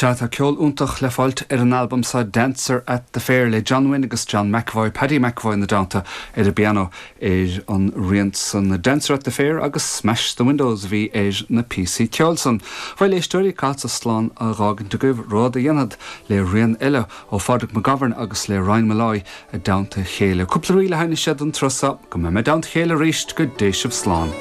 Sea, tá ceol iontach le fáilt ar an albam seo Dancer at the Fair le John Wynne agus John McEvoy, Paddy McEvoy ina dteannta ar an bpianó ar an rian san. Dancer at the Fair agus Smash the Windows a bhí ar na píosaí ceoil san. Bhuel, éisteoirí, caithfeadsa slán a dh'fhágaint agaibh, rud a dhéanfad le rian eile ó Phádraig McGovern agus le Ryan Molloy i dteannta a chéile. Cúpla ríl a sheinnfidh siad an turas seo. Go mbeidh mé i dteannta a chéile arís, go dté sibh slán.